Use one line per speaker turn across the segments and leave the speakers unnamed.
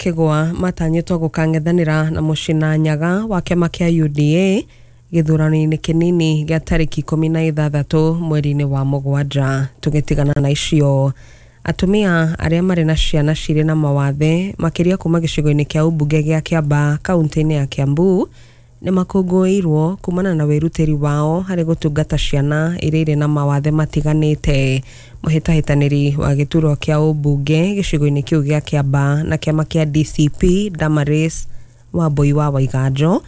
Kĩgwa matanyĩtwo gũkang'ethanĩra na Mũcina Nyaga wa kĩama kĩa UDA gĩthurano-inĩ kĩnini gĩa tarĩki 16 mweri-inĩ wa 7. Tũgĩtigana na icio, atumia arĩa marĩ na ciana cirĩ na mawathe makĩria kuma gĩcigo-inĩ kĩa ũmbunge gĩa Kĩambaa kaunti-inĩ ya Kiambu nĩ makũngũĩirwo kumana na wĩrutĩri wao harĩ gũtungata ciana iria irĩ na mawathe matiganĩte. Mũhĩtahĩtanĩri wa gĩturwa kĩa ũmbunge gĩcigo-inĩ kĩu gĩa Kĩambaa na kĩama kĩa DCP Damaris Wambui wa Waiganjo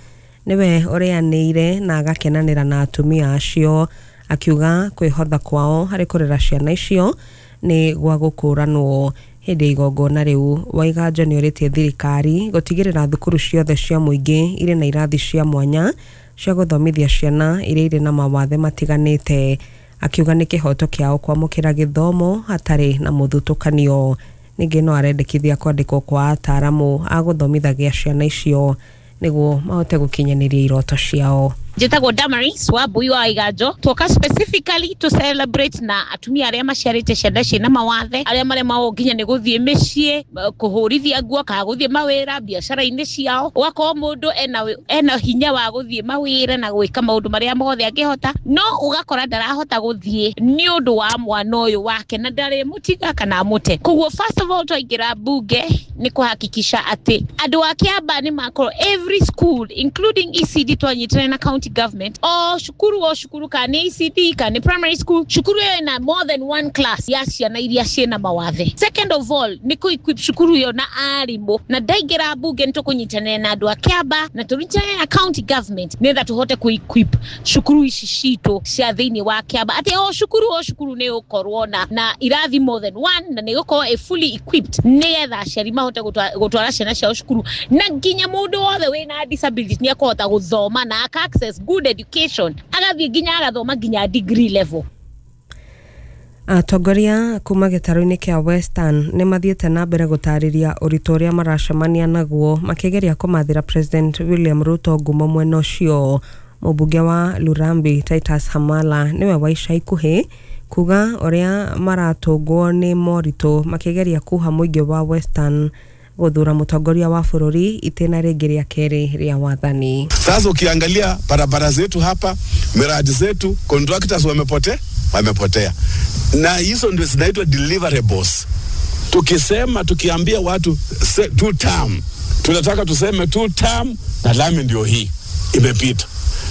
nĩwe ũrĩanĩire na agakenanĩra na atumia acio, akiuga kwĩhotha kwao harĩ kũrera ciana icio nĩ gwa gũkũranwo. Hĩndĩ ya igongona rĩu, Waiganjo nĩ orĩtie thirikari gũtigĩrĩra thukuru ciothe cia mũingĩ irĩ na irathi cia mwanya cia gũthomithia ciana iria irĩ na mawathe matiganĩte, akiuga nĩ kĩhoto kĩao kwamũkĩra gĩthomo hatarĩ na mũthutũkanio. Ningĩ no arendekithia kwandĩkwo kwa ataaramu a gũthomithagia ciana icio nĩguo mahote gũkinyanĩria iroto ciao.
Njĩtagwo Damaris Wambui wa Iganjo. Twoka specifically to celebrate na atumia arĩa maciarĩte ciana ciĩna mawathe, arĩa maremagwo nginya nĩ gũthiĩ mĩciĩ, kũhũrithia nguo kana gũthiĩ mawĩra biacara-inĩ ciao. Ũgakorwo mũndũ ena hinya wa gũthiĩ mawĩra na gwĩka maũndũ marĩa mothe angĩhota, no ũgakora ndarahota gũthiĩ nĩ ũndũ wa mwana ũyũ wake na ndarĩmũtiga kana amũte. Koguo first of all twaingĩra bunge nĩ kũhakikisha atĩ andũ a Kĩambaa nĩ makorwo every school including ECD twanyitanĩra na county government, o cukuru kana nĩ ECD kana nĩ primary school, cukuru ĩyo ĩna more than one class ya ciana iria ciĩna mawathe. Second of all nĩ kũ equip cukuru ĩyo na arimũ, na ndaingĩra bunge nĩ tũkũnyitanĩra na andũ a Kĩambaa na tũnyitanĩre na county government nĩgetha tũhote kũ equip cukuru ici citũ cia thĩinĩ wa Kĩambaa, atĩ o cukuru nĩ ũkorwo na irathi more than one na nĩ gũkorwo ĩ fully equipped nĩgetha aciari mahote gũtwara ciana ciao cukuru, na nginya mũndũ wothe wĩna disability nĩ akũhota gũthoma na aka access good education, agathiĩ nginya agathoma nginya degree level.
Atongoria kuma gĩtarũ-inĩ kĩa Western nĩ mathiĩte na mbere gũtarĩria ũritũ ũrĩa maracemania naguo makĩgeria kũmathĩra President William Ruto ngumo mwena ũcio. Mũmbunge wa Lurambi Titus Hamala nĩwe wa ica ikuhĩ kuga ũrĩa maratũngwo nĩ moritũ makĩgeria kuha mũingĩ wa Western gũthura mũtongoria wa bũrũri itĩna rĩngĩ rĩa kerĩ rĩa wathani.
Sasa ukiangalia barabara zetu hapa, miradi zetu, contractors wamepotea, na hizo ndio zinaitwa deliverables. Tukisema, tukiambia watu two term, tunataka tuseme two term na lami ndio hii imepita.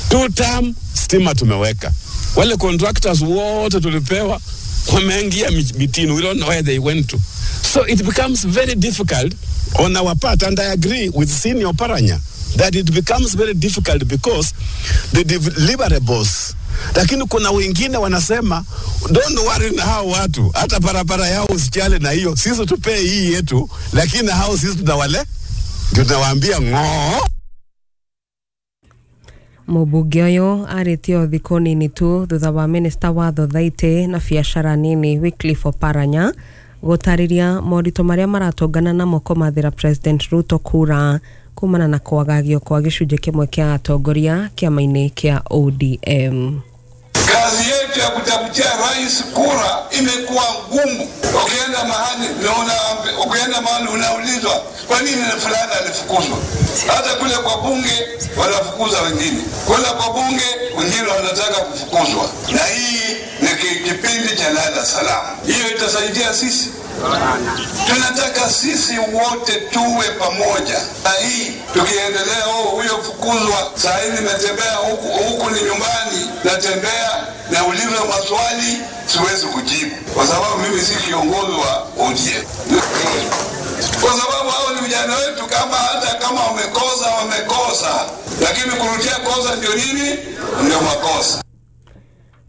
Two term stima tumeweka. Wale contractors wote tulipewa wameingia mitini, we don't know where they went to. So it becomes very difficult on our part, and I agree with Senior Paranya that it becomes very difficult because the deliverables, lakini kuna wengine wanasema, "Don't worry na hao watu, hata barabara yao usijali na hiyo, sisi tupee hii yetu, lakini hao sisi tunawale tunawaambia ng'oo."
Mũmbunge ũyũ arĩtie o thikũ nini tu thutha wa minista wa thothaitĩ na biacara nini Wycliffe Oparanya gũtarĩria moritũ marĩa maratũngana namo kũmathĩra President Ruto kura kumana na kwagagio kwa gĩcunjĩ kĩmwe kĩa atongoria kĩama-inĩ kĩa ODM.
Kazi yetu ya kutafutia rais kura imekuwa ngumu. Ukienda mahali naona, ukienda mahali unaulizwa kwa nini fulani alifukuzwa. Hata kule kwa bunge wanafukuza wengine, kule kwa bunge wengine wanataka kufukuzwa, na hii ni kipindi cha lala salama. Hiyo itasaidia sisi. Tunataka sisi wote tuwe pamoja, na hii tukiendelea, oh, huyo fukuzwa. Saa hii nimetembea huku huku, ni nyumbani, natembea naulizwa maswali siwezi kujibu, kwa sababu mimi si kiongozi wa ODM, kwa sababu hao ni vijana wetu. Kama hata kama wamekosa, wamekosa, lakini kurudia kosa ndio nini? Ndio makosa.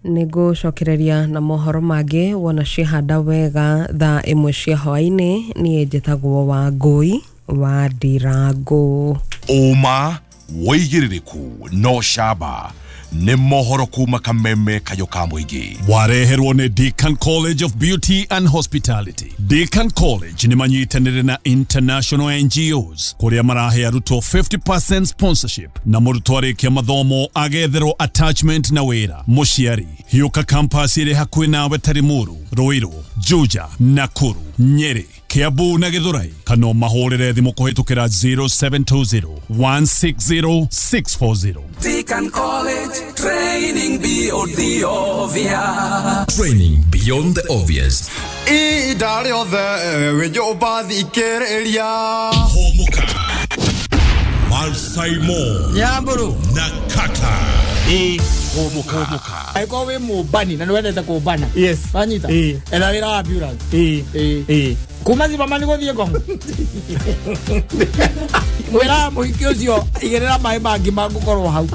Nĩ ngũcokereria na mohoro mangĩ wona ciahanda wega thaa 1 cia hwaĩ-inĩ. Niĩ njĩtagwo Wangũi wa Ndirangũ.
Ũma, wĩigĩrĩrĩku no camba nĩ mohoro kuma kameme kayo ka mũingĩ.
Wareherwo nĩ Deakin College of Beauty and Hospitality. Deakin College nĩ manyitanĩire na international NGOs kũrĩa marahe arutwo 50% sponsorship na mũrutwo arĩkia mathomo agetherwo attachment na wĩra. Mũciari hiũka campus ĩrĩ hakuhĩ nawe ta Limuru, Ruiru, Juja, Nakuru, Nyeri, Kiambu na Githurai kana ũmahũrĩre thimũ kũhĩtũkĩra 0720 160 640.
Deacon College, training beyond the obvious.
Training beyond the obvious.
Ihinda rĩothe wĩ nyũmba thikĩrĩria.
Hũmũka Malsaimo
Nyamburu
na Kata. Hũmũka.
Angĩkorwo wĩ mũmbani na nĩwendete kũmbana.
Yes.
Wanyita? Etha wĩra wa ambulance. Kuma Zimmerman gũthiĩ Ngong. Wĩra mũhiki ũcio igĩrĩra maĩ mangĩ mangũkorwo hau.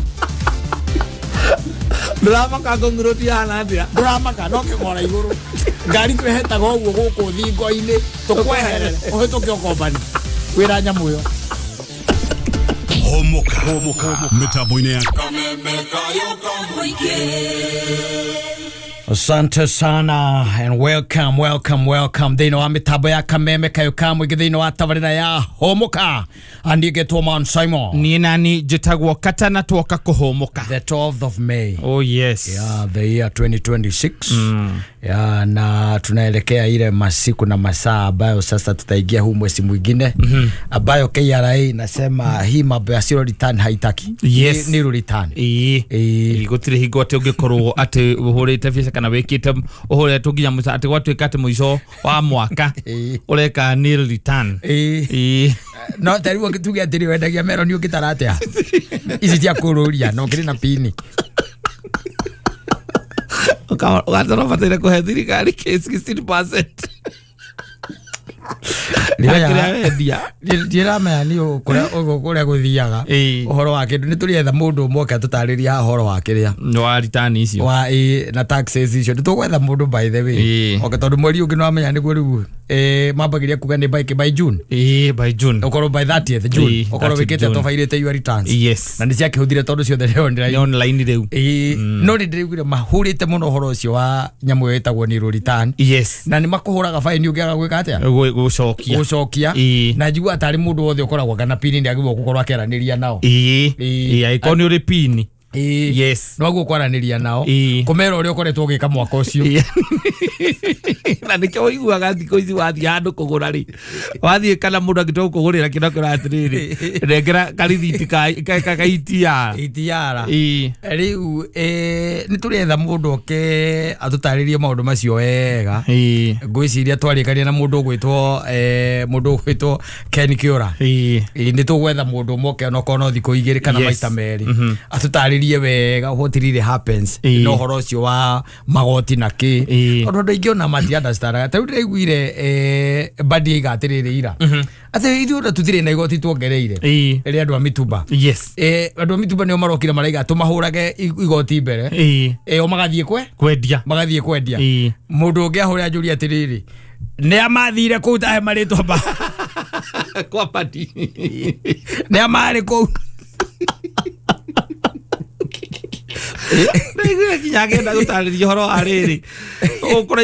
Ndũramaka Ngong Road ihana atĩa?
Ndũramaka no kĩng'ora igũrũ. Ngari twĩhetaga ũguo gũkũ thingo-inĩ tũkweherere ũhĩtũke ũkombani. Wĩra nyamũ ĩyo.
Hũmũka. Hũmũka.
Mĩtambo-inĩ ya
Asante sana and welcome, welcome, welcome. Thĩinĩ wa mĩtambo ya Kameme Kayo ka Mũingĩ thĩinĩ wa tabarĩra ya Hũmũka. Andĩkĩtwo Man Simon.
Niĩ nani njĩtagwo Kata na twoka kũhũmũka.
The 12th of May.
Oh yes.
Yeah, the year 2026. Yeah, na tunaelekea ile masiku na masaa ambayo sasa tutaingia huu mwezi mwingine ambayo KRA inasema hii mambo ya zero return haitaki.
Yes.
Ni return.
Ĩĩ. Gũtirĩ hingo atĩ ũngĩkorwo atĩ ũhũrĩte biacara kana wĩkĩte ũhũrĩtwo nginya mũico atĩ gwatuĩka atĩ mũico wa mwaka ũreka nil return.
Ĩĩ. No ta rĩu tuge atĩrĩ wendagia meroni ũngĩtara atĩa? Ici cia kũrũria no kĩrĩ na pini.
Ũgatara ũbataire kũhe thirikari 16%.
Ndiramenya nĩ kũrĩa gũthiaga ũhoro wa kĩndũ. Nĩ tũrĩetha mũndũ ũmwe oke atũtarĩrie haha ũhoro wa kĩrĩa
wa return icio
wa na taxes icio. Nĩ tũgwetha mũndũ by the way oke tondũ mweri ũngĩ nĩwamenya nĩguo rĩu mambagĩria kuga nĩ by June.
By June
ũkorwo by 30th June ũkorwo wĩkĩte tobairĩte your returns.
Yes.
Na nĩ ciakĩhũthire tondũ ciothe nĩ
online rĩu.
No nĩ ndĩraiguire mahũrĩte mũno ũhoro ũcio wa nyamũ ĩyo ĩtagwo nil return.
Yes.
Na nĩ makũhũraga fine ũngĩaga gwĩka atĩa?
Gũcokia.
Gũcokia. Na njigua tarĩ mũndũ wothe ũkoragwo kana pini nĩ agĩrĩirwo gũkorwo akĩaranĩria nao.
Ĩĩ. Angĩkorwo nĩ ũrĩ pini. Yes.
No kwaranĩria nao kũmera ũrĩa ũkoretwo ũgĩka mwaka ũcio.
Na nĩkĩo ũiguaga thikũ ici wathiĩ handũ kũgũra rĩ, wathiĩ kana mũndũ angĩtua gũkũgũrĩra kĩndũ akwĩra atĩrĩrĩ, nengera karithiti ka ETR.
ETR. Rĩu nĩ tũrĩetha mũndũ oke atũtarĩrie maũndũ macio wega. Ngwĩciria twarĩkania na mũndũ ũgwĩtwo Ken Kĩũra. Nĩ tũgwetha mũndũ ũmwe oke onokorwo no thikũ igĩrĩ kana maita merĩ atũtarĩrie wega what really happens no ũhoro ũcio wa magoti na kĩ tondũ andũ aingĩ ona mati understandaga. Ta rĩu ndĩraiguire Mbadi aiga atĩrĩrĩ ira atĩ ithuĩ ona tũtirĩ na igoti tuongereire rĩrĩa andũ a mitumba.
Yes.
Andũ a mitumba nĩo marokire maraiga tũmahũrage igoti mbere o magathiĩ kwendia magathiĩ kwendia. Mũndũ ũngĩ ahũre anjũrie atĩrĩrĩ nĩ amathire kũu tahe marĩtwa ma
kwa Mbadi
nĩ amarĩ kũu.
Ndaiguire nginya agenda gũtarĩria ũhoro wa rĩrĩ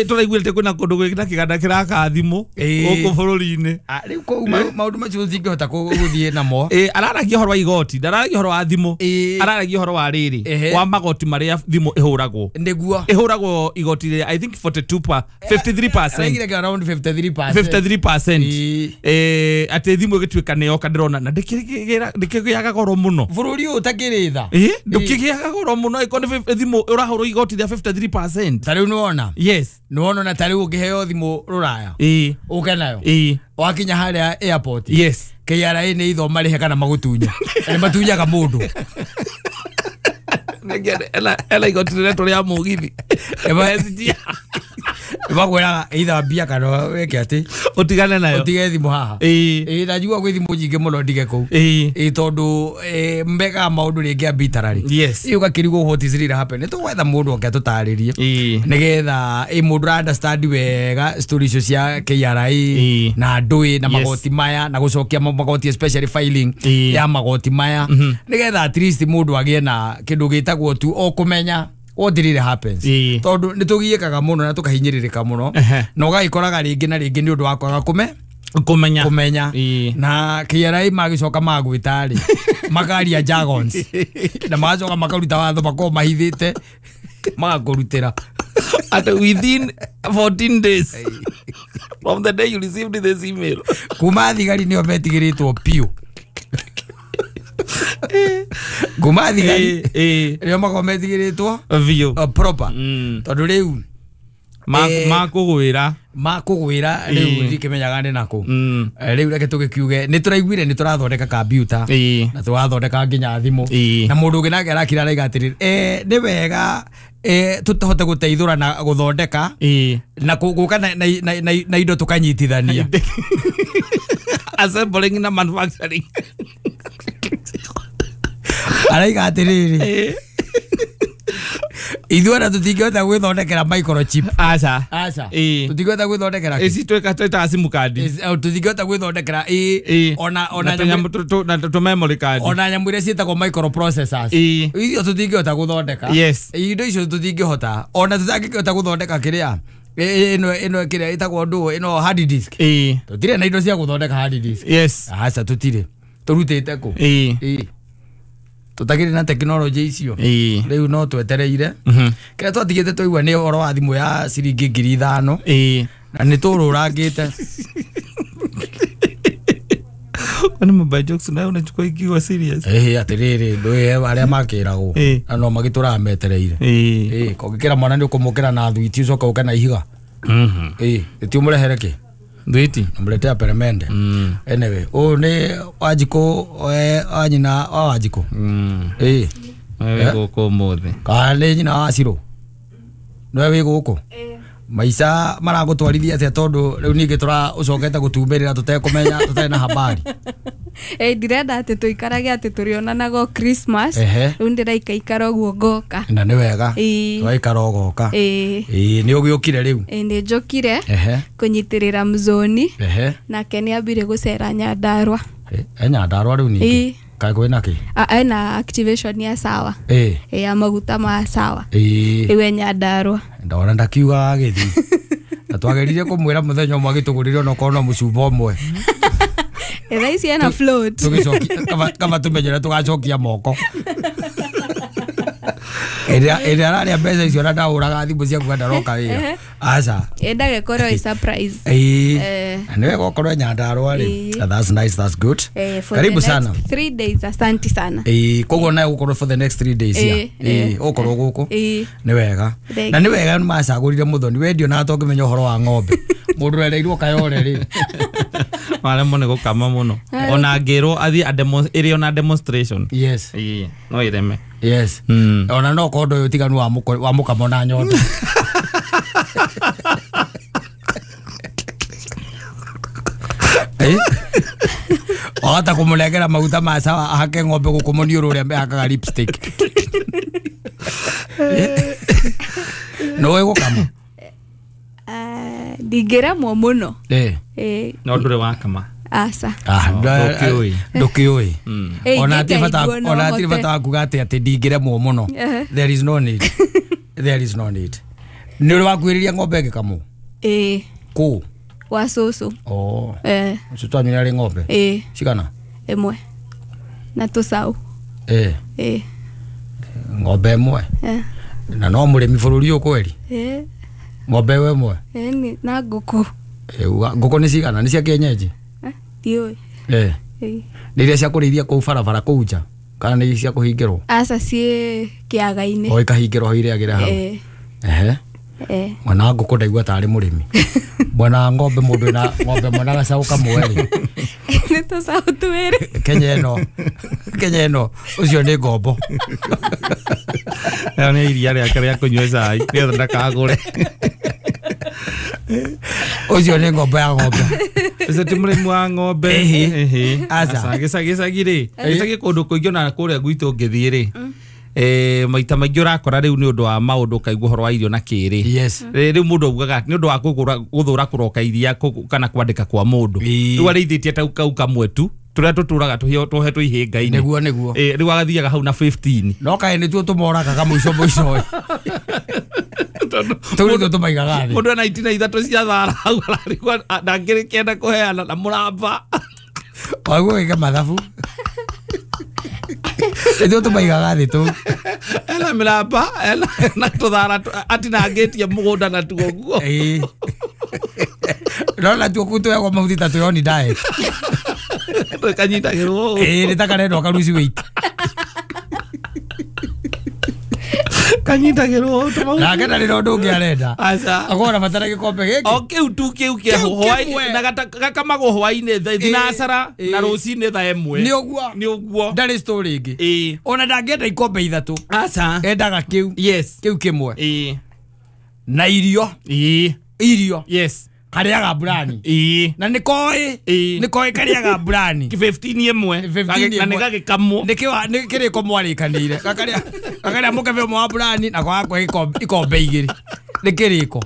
tũraiguĩte kwĩna kũndũ gwĩna kĩganda kĩraka thimũ gũkũ bũrũri-inĩ.
Rĩu kũu maũndũ macio tũtingĩhota gũthiĩ namo.
Araragia ũhoro wa igoti, ndararagia ũhoro wa thimũ, araragia ũhoro wa rĩrĩ wa magoti marĩa thimũ ĩhũragwo.
Nĩguo
ĩhũragwo igoti rĩa I think 42 53%.
Around 53%.
53%. Atĩ thimũ ĩgĩtuĩka nĩ yoka ndĩrona na ndĩkĩgĩaga goro mũno.
Bũrũri ũyũ ũtakĩrĩ tha.
Ndũkĩgĩaga goro mũno ĩkorwo nĩ thimũ ũrahũrwo igoti rĩa 53%.
Ta rĩu nĩwona.
Yes.
Nĩwona na ta rĩu ũngĩheo thimũ rũraya. Ũke nayo. Wakinya harĩa airport.
Yes.
KRA nĩ itho marĩhe kana magũtunye. Nĩ matunyaga mũndũ.
Ela igoti rĩrĩa tũrĩa mũgithi.
Makwĩraga either mbia kana wĩke atĩ
ũtigane nayo
ũtige thimũ haha. Ĩĩ na njigua gwĩ thimũ nyingĩ mũno ndige kũu. Ĩĩ tondũ mekaga maũndũ rĩngĩ arbitrary.
Yes.
Ĩĩ ũgakĩrigwo what is really happening. Nĩ tũgwetha mũndũ oke atũtarĩrie nĩgetha mũndũ ũra understand wega story icio cia KRA na ndũĩ na magoti maya na gũcokia magoti especially filing ya magoti maya nĩgetha at least mũndũ agĩe na kĩndũ gĩtagwo tu o kũmenya what really happens. Tondu nĩ tũgiĩkaga mũno na tũkahinyĩrĩrĩka mũno na ũgagĩkoraga rĩngĩ na rĩngĩ nĩ ũndũ wa kwaga kũmenya na KRA magĩcoka magwĩta rĩ makaria jargons na magacoka makaruta watho makorwo mahithĩte magakũrutĩra
at within 14 days. From the day you received this email.
Kuma thigari nĩo metigĩrĩtwo piũ. Kuma thigari nĩo makoragwo metigĩrĩtwo
biũ
proper. Tondũ rĩu
makũgwĩra
rĩu ndikĩmenyaga nĩ nakũ. Rĩu reke tũgĩkiuge nĩ tũraiguire nĩ tũrathondeka kambiuta na tũrathondeka nginya thimũ na mũndũ ũngĩ nake arakira araiga atĩrĩrĩ nĩ wega tũhote gũteithũra na gũthondeka na gũka na indo tũkanyitithania
assembling na manufacturing.
Araiga atĩrĩrĩ ithuĩ ona tũtingĩhota gwĩthondekera microchip.
Aca.
Aca. Tũtingĩhota gwĩthondekera kĩ?
Ici twĩtaga SIM card.
Tũtingĩhota gwĩthondekera ona
na tũ memory card.
Ona nyamũ iria ciĩtagwo microprocessors. Icio tũtingĩhota gũthondeka.
Yes.
Indo icio tũtingĩhota. Ona tũtangĩhota gũthondeka kĩrĩa ĩno kĩrĩa ĩtagwo ndũ ĩno hard disk. Tũtirĩ na indo cia gũthondeka hard disk.
Yes.
Aca tũtirĩ. Tũrutĩte kũ? Tũtagĩrĩ na tekinoronjĩ icio rĩu no twetereire. Kĩrĩa twatigĩte twaigua nĩ ũhoro wa thimũ ya ciringi 5,000 na nĩ tũrũrangĩte.
Kwani mobile jokes nayo unachukua ikiwa serious?
Atĩrĩrĩ ndũĩ arĩa makĩragwo na no magĩtũraga metereire. Kũngĩkĩra mwana nĩ ũkũmũkĩra na thwiti ũcoke ũke na ihiga. Ti ũmũrehere kĩ?
Thwiti
namletea peremende. Anyway, ũyũ nĩ Wanjikũ wa nyina wa Wanjikũ.
Wĩ gũkũ ũmũthĩ.
Kana nĩ nyina wa Cirũ? Nĩwe wĩ gũkũ? Maica maragũtwarithia atĩa tondũ rĩu ningĩ ũcokete gũtumĩrĩra tũtekũmenya tũtarĩ na habari.
Ndirenda atĩ tũikarage atĩ tũrĩonanaga o Christmas. Rĩu ndĩraikaikara ũguo ngoka.
Na nĩ wega. Waikara ũgoka. Nĩ ũgĩũkire rĩu?
Nĩ njũkire kũnyitĩrĩra mzoni. Nake nĩ ambire gũcera Nyandarua.
Nyandarua rĩu ningĩ? Kaĩ kwĩna kĩ?
Ena activation ya sawa. Ya maguta ma sawa. Rĩu e Nyandarua.
Ndona ndakiuga agĩthiĩ. Na twageririe kũmwĩra mũthenya ũmwe agĩtũgũrĩre onokorwo no mũcumba ũmwe.
Thaa ici ena float.
Tũgĩcokia kaba tũmenyere tũgacokia moko. Ĩrĩa ararĩa mbeca icio na ndahũraga thimũ cia kuga ndaroka wĩra. Aca.
Endaga ĩkorwo ĩ surprise.
Na nĩ wega ũkorwo Nyandarua rĩ. That's nice, that's good. Karibu sana.
3 days, asante sana.
Koguo nawe ũgũkorwo for the next 3 days ya. Ũgũkorwo gũkũ. Nĩ wega. Na nĩ wega nĩ macagũrire mũthoni wendio na tongĩmenya ũhoro wa ng'ombe. Mũndũ ũrereirwo Kayore rĩ.
Maremwo nĩ gũkama mũno. Ona ngĩrwo athiĩ ĩrĩ ona demonstration.
Yes.
No ĩreme.
Yes. Ona no korwo ndũĩ ũtiganu wa mũkamo na nyondo. Wahota kũmũnengera maguta ma sawa ahake ng'ombe gũkũ mũniũrũ ũrĩa mehakaga lipstick. Nĩũĩ gũkama?
Ndingĩremwo mũno.
No ndũrĩ wakama?
Aca.
Ndũkĩũĩ. Ona hatirĩ bata wa kuga atĩ ndingĩremwo mũno. There is no need. There is no need. Nĩ ũrĩ wakuhĩrĩria ng'ombe ĩgĩkamwo? Kũ?
Wa cũcũ.
Cũcũ wanyu nĩ arĩ ng'ombe? Cigana?
Ĩmwe. Na tũcaũ.
Ng'ombe ĩmwe? Na no mũrĩmi bũrũri ũyũ kweri? Ng'ombe ĩyo ĩmwe?
Na ngũkũ.
Ngũkũ nĩ cigana? Nĩ cia kienyeji?
Ndiũĩ.
Nĩ iria cia kũrĩithia kũu barabara kũu nja? Kana nĩ cia kũhingĩrwo?
Aca, ciĩ kĩaga-inĩ.
O ikahingĩrwo hau irĩagĩre hau? Mwana wa ngũkũ ndaigua tarĩ mũrĩmi. Mwana wa ng'ombe mũndũ wĩna ng'ombe mwana gacaũ kamwe rĩ.
Nĩ tũcaũ twĩrĩ.
Kenya ĩno ũcio nĩ ngombo.
Ĩyo nĩ iria rĩake rĩa kũnyua cai nĩgetha ndakagũre.
Ũcio nĩ ngombo ya ng'ombe.
Ũcio ti mũrĩmi wa ng'ombe. Aca. Gĩcagi rĩ, gĩcagi kũndũ kũingĩ ona kũrĩa gwitũ ũngĩthiĩ rĩ, maita maingĩ ũrakora rĩu nĩ ũndũ wa maũndũ ũkaigua ũhoro wa irio na kĩrĩ.
Yes.
Rĩu mũndũ augaga nĩ ũndũ wa gũthũra kũroka iria kana kwandĩka kwa mũndũ. Rĩu arĩithĩtie ta kau kamwe tu tũrĩa tũtũraga tũhetwo ihĩnga-inĩ.
Nĩguo nĩguo.
Rĩu agathiaga hau na 15.
No kaĩ nĩtuo tũmoragaga mũico mũico. Tũu nĩtuo tũmaigaga thĩ.
Mũndũ ena itina ithatũ cia thara hau ararigwo ndangĩrĩkĩenda kũheana na mũramba.
Waigua wĩke mathabu. Nĩtuo tũmaigaga thĩ tũu.
Ena mĩramba ena na tũthara atinangĩtie mũgũnda natuo guo.
Rona tuo twegwo mahuti ta twĩ on diet.
Kanyitagĩrwo.
Ĩĩ nĩ ta karendwo karuci weight.
Kanyitagĩrwo
nake ndarĩ na ũndũ ũngĩ arenda.
Aca.
Akorwo arabatara gĩkombe gĩkĩ.
O kĩu tu kĩu kĩa hwaĩ na gakamagwo hwaĩ-inĩ thinacara na rũcinĩ thaa ĩmwe.
Nĩ ũguo.
Nĩ ũguo.
Ndarĩ story ĩngĩ.
Ĩĩ.
Ona ndangĩenda ikombe ithatũ.
Aca.
Endaga kĩu.
Yes.
Kĩu kĩmwe.
Ĩĩ.
Na irio.
Ĩĩ.
Irio.
Yes.
Karĩaga mburani.
Ĩĩ.
Na nĩkoĩ.
Ĩĩ.
Nĩkoĩ karĩaga mburani.
15 ĩmwe. Na nĩ gagĩkamwo.
Nĩ kĩrĩko mwarĩkanĩire. Gakarĩa mũkebe ũmwe wa mburani na gagakũhe ikombe igĩrĩ. Nĩ kĩrĩko.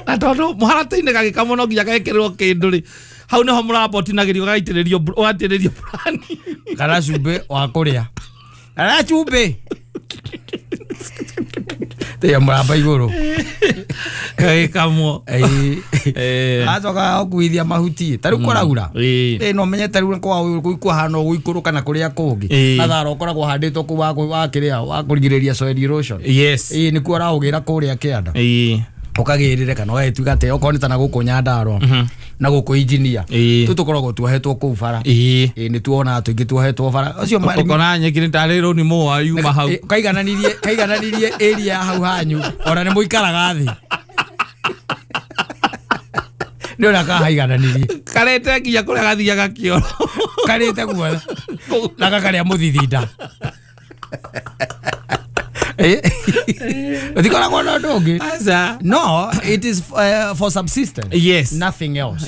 Na tondũ mũharatĩ-inĩ gagĩkamwo no nginya gekĩrĩrwo kĩndũ rĩ. Hau nĩho mũrambotinagĩrio gagaitĩrĩrio ũgatĩrĩrio mburani.
Kana cumbĩ wa kũrĩa. Kana cumbĩ. Tĩa mũramba igũrũ.
Gagĩkamwo.
Acoka gũkuithia mahuti. Ta rĩu kũraura. Ĩĩ no menye ta rĩu kwa kũhana gũikũrũka na kũrĩa kũngĩ. Na thara ũkoragwo ũhandĩtwo kũu wa kĩrĩa wa kũrigĩrĩria soil erosion.
Yes.
Ĩĩ nĩkuo ũraũgĩra kũrĩa kĩanda.
Ĩĩ.
Ũkagĩrĩre kana ũgagĩtuĩka atĩ okorwo nĩ ta na gũkũ Nyandarua na gũkũ engineer. Tũ tũkoragwo tuohetwo kũu bara.
Ĩĩ.
Ĩĩ nĩ tuonaga tũingĩ tuohetwo bara. Ũcio
ũkona nyeki nĩ tarĩ rũni mũa yuma hau.
Kaigananirie area ya hau hanyu ona nĩ mũikaraga thĩ. Nĩ ũrĩa kahaigananirie.
Karĩte nginya kũrĩa gathiaga kĩoro.
Karĩte guothe. Na gakarĩa mũthithinda. Ũtikoragwo na ũndũ ũngĩ.
Aca.
No, it is for subsistence.
Yes.
Nothing else.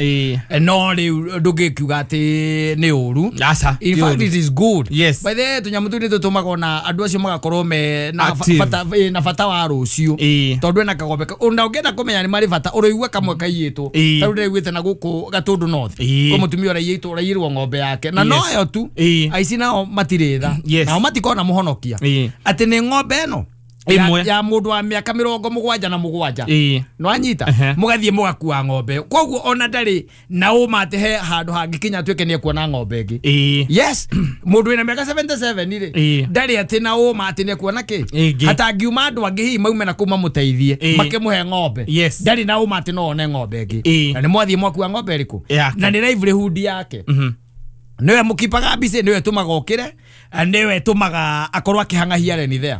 No rĩu ndũngĩkiuga atĩ nĩ ũru.
Aca.
In fact it is good.
Yes.
By the way tũnyamũ tũu nĩ tũtũmaga ona andũ acio magakorwo me na bata na bata wa rũciũ. Tondũ ena kagombe ona ũngĩenda kũmenya nĩ marĩ bata ũrĩigua kamwe kaiyĩtwo. Ta rĩu ndĩraiguĩte na gũkũ Gatũndũ North. Kwĩ mũtumia ũraiyĩtwo ũraiyĩrwo ng'ombe yake. Na noyo tu. Aici nao matirĩ tha. Nao matikona mũhonokia. Atĩ nĩ ng'ombe ĩno ya mũndũ wa mĩaka 77. No anyita mũgathiĩ mũgakua ng'ombe. Koguo ona ndarĩ na ũma atĩ he handũ hangĩkinya atuĩke nĩ ekuona ng'ombe ĩngĩ. Yes, mũndũ wĩna mĩaka 77 rĩ ndarĩ atĩ na ũma atĩ nĩ ekuona kĩ. Hatangiuma andũ angĩ hihi maume na kũu mamũteithie makĩmũhe ng'ombe. Ndarĩ na ũma atĩ no one ng'ombe ĩngĩ. Na nĩ mwathiĩ mwakua ng'ombe ĩrĩkũ. Na nĩ livelihood yake. Nĩwe mũkipaga mbica, nĩwe tũmaga ũkĩre, nĩwe tũmaga akorwo akĩhang'ahia reni there.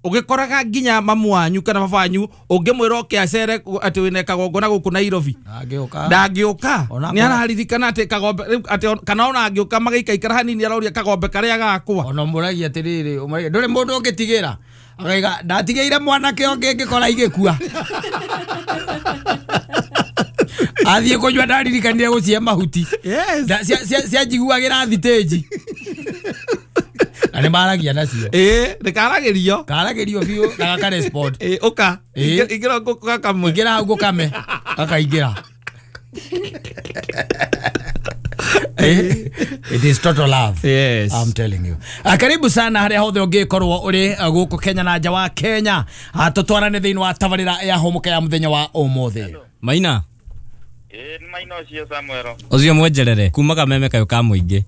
Ũgĩkoraga nginya mamu wanyu kana baba wanyu ũngĩmwĩra oke acere atĩ wĩna kagongona gũkũ Nairobi ndangĩũka. Nĩ araririkana atĩ kagombe atĩ kana ona angĩũka magĩikaikara hanini aroria kagombe karĩa gakwa.
Ona mũragia atĩrĩrĩ, ndũrĩ mũndũ ũngĩtigĩra. Akaiga ndatigĩire mwanake ũngĩ ngĩkora igĩkua. Athiĩ kũnyua ndaririkanire gũcihe mahuti. Cianjiguagĩra thitĩnji. Na nĩ maragia nacio.
Ĩĩ, nĩ karagĩrio.
Karagĩrio biũ na gakarespond.
Ĩĩ, ũka. Ingĩra ngũkamwe.
Ingĩra hau ngũkame. Gakaingĩra. It is total love.
Yes.
I'm telling you. Karibu sana harĩa hothe ũngĩkorwo ũrĩ gũkũ Kenya na nja wa Kenya. Tũtwarane thĩinĩ wa tabarĩra ya Hũmũka ya mũthenya wa ũmũthĩ.
Maina.
Ĩĩ, Maina ũcio Samuel.
Ũcio mwenjerere kuma kameme kayo ka mũingĩ.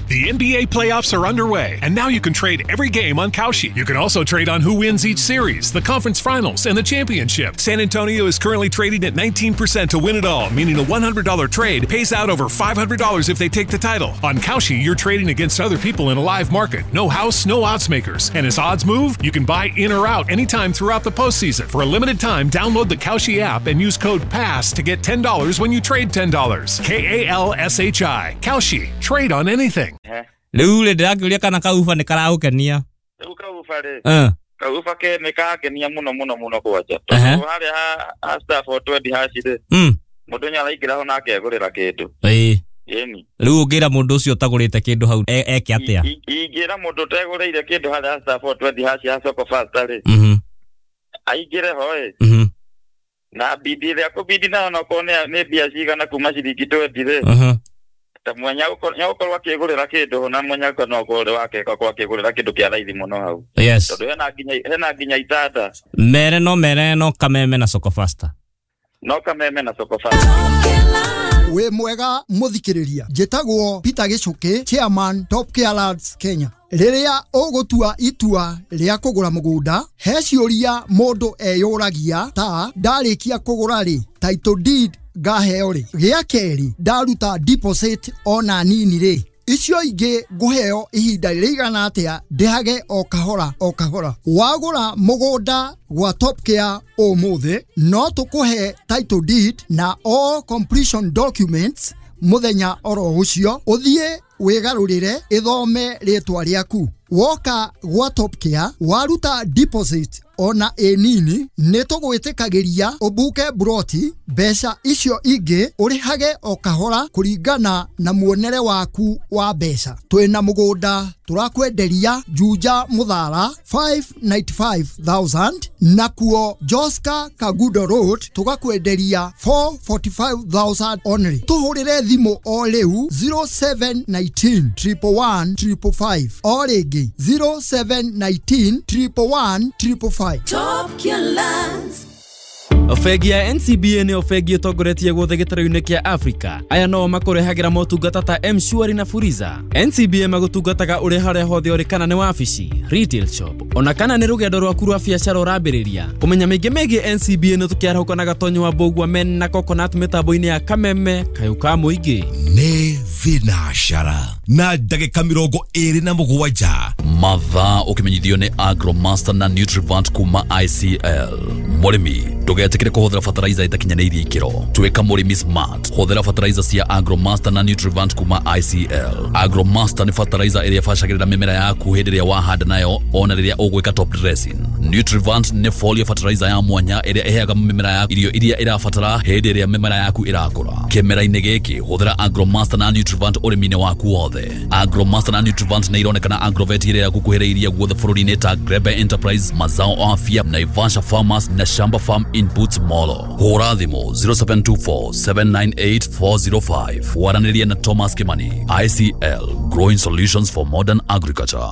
The NBA playoffs are underway, and now you can trade every game on Kalshi. You can also trade on who wins each series, the conference finals, and the championship. San Antonio is currently trading at 19% to win it all, meaning a $100 trade pays out over $500 if they take the title. On Kalshi, you're trading against other people in a live market. No house, no odds makers. And as odds move, you can buy in or out anytime throughout the postseason. For a limited time, download the Kalshi app and use code PASS to get $10 when you trade $10. K-A-L-S-H-I. Kalshi. Trade on anything.
Rĩu rĩ ndĩrakĩũria kana kauba nĩ karagũkenia.
Rĩu kauba rĩ kauba ke nĩ karakenia mũno mũno mũno kwanja. Tondũ harĩa ha star 420 hash rĩ mũndũ nĩ araingĩra ho na akegũrĩra kĩndũ.
Ĩĩ.
Ĩni.
Rĩu ũngĩra mũndũ ũcio ũtagũrĩte kĩndũ hau eke atĩa?
Ingĩra mũndũ ũtegũrĩire kĩndũ harĩa star 420 hash ya Soko Fasta rĩ aingĩre ho ĩ na bidi ĩrĩa kũbidi nayo onokorwo nĩ mbia cigana kuma ciringi 20 rĩ ta mwenya ũkorwo akĩgũrĩra kĩndũ na mwenya no ũkorwo wake akorwo akĩgũrĩra kĩndũ kĩa raithi mũno hau.
Yes.
Tondũ hena nginya itanda.
Mere no kameme na Soko Fasta.
No kameme na Soko Fasta.
Wĩ mwega mũthikĩrĩria, njĩtagwo Peter Gĩcũkĩ, chairman Top Care Lads Kenya. Rĩrĩa ũgũtua itua rĩa kũgũra mũgũnda, he ciũria mũndũ eyũragia ta ndarĩkia kũgũra rĩ, title deed ngaheo rĩ? Gĩa kerĩ, ndaruta deposit ona nini rĩ, icio ingĩ ngũheo ihinda rĩigana atĩa ndĩhage o kahora o kahora? Wagũra mũgũnda gwa Top Care ũmũthĩ, no tũkũhe title deed na all completion documents mũthenya oro ũcio, ũthiĩ wĩgarũrĩre ĩthome rĩtwa rĩaku. Woka gwa Top Care waruta deposit ona ĩ nini, nĩ tũgwĩtĩkagĩria ũbuke broti, mbeca icio ingĩ ũrĩhage o kahora kũringana na muonere waku wa mbeca. Twĩna mũgũnda tũrakwenderia Juja Muthara 595,000, nakuo Joska Kagudo Road tũgakwenderia 445,000 only. Tũhũrĩre thimũ o rĩu 0719 111 555, o rĩngĩ 0719 111 555.
Top Care Lands.
Bengi ya NCBA nĩyo bengi ĩtongoretie guothe gĩtarũ-inĩ kĩa Afrika. Aya no makũrehagĩra motungata ta M-Shwari na Fuliza. NCBA magũtungataga ũrĩ harĩa hothe ũrĩ, kana nĩ wabici, retail shop, ona kana nĩ rũgendo rwaku rwa biacara ũrambĩrĩria. Kũmenya mĩingĩ megiĩ NCBA nĩ tũkĩarahũka na Gatonyo wa Mbũgua men na Coconut mĩtambo-inĩ ya Kameme kayũ ka mũingĩ.
Nĩ thinacara na ndagĩka 27.
Mathaa ũkĩmenyithio nĩ Agromaster na Nutrivant kuma ICL. Mũrĩmi ndũgetĩkĩre kũhũthĩra fertilizer ĩtakinyanĩirie ikĩro. Tuĩka mũrĩmi smart, hũthĩra fertilizer cia Agromaster na Nutrivant kuma ICL. Agromaster nĩ fertilizer ĩrĩa ĩbacagĩrĩra mĩmera yaku hĩndĩ ĩrĩa wahanda nayo ona rĩrĩa ũgwĩka top dressing. Nutrivant nĩ foliar fertilizer ya mwanya ĩrĩa ĩheaga mĩmera yaku irio iria ĩrabatara hĩndĩ ĩrĩa mĩmera yaku ĩrakũra. Kĩmera-inĩ gĩkĩ hũthĩra Agromaster na Nutrivant ũrĩmi-inĩ waku wothe. Agromaster na Nutrivant nĩ ironekana Agrovet ĩrĩa ĩrakuhĩrĩirie guothe bũrũri-inĩ ta Grebe Enterprise, Mazao Afya, Naivasha Farmers na Shamba Farm Inputs Molo. Hũra thimũ 0724 798 405. Waranĩria na Thomas Kimani. ICL, growing solutions for modern agriculture.